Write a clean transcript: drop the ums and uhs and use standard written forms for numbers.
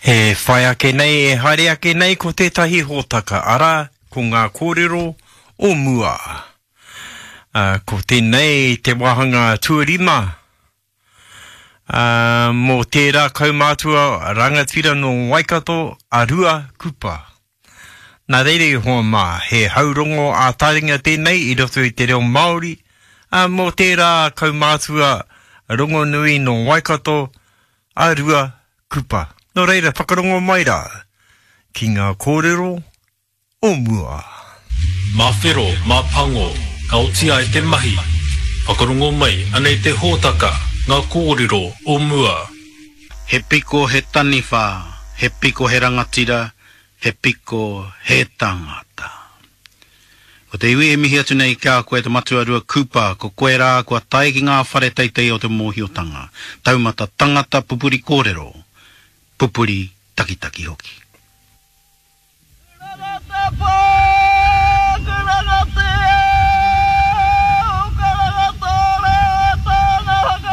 E whai ake nei, e haere ake nei ko tētahi hōtaka, arā, ko ngā kōrero o mua. Ā, ko tēnei te wāhanga tuarima, ā, mō tērā kaumātua rangatira nō Waikato, a Rua Kupa. Nā reira i hoa mā, he haurongo ā-taringa tēnei i roto i te reo Māori, ā, mō tērā kaumātua rongonui nō Waikato, a Rua Kupa. Nō reira, whakarongo mai rā ki ngā kōrero o mua. Mā whero, mā pango, ka oti ai te mahi. Whakarongo mai, anei te hōtaka, ngā kōrero o mua. He piko he taniwha, he piko he rangatira, He piko, he tangata. Ko te iwi e mihi atu nei ki a koe te matua Ruakūpa, ko koe rā kua tae ki ngā whare teitei o te mōhiotanga, taumata tangata pupuri kōrero, pupuri takitaki hoki. Rarata pō!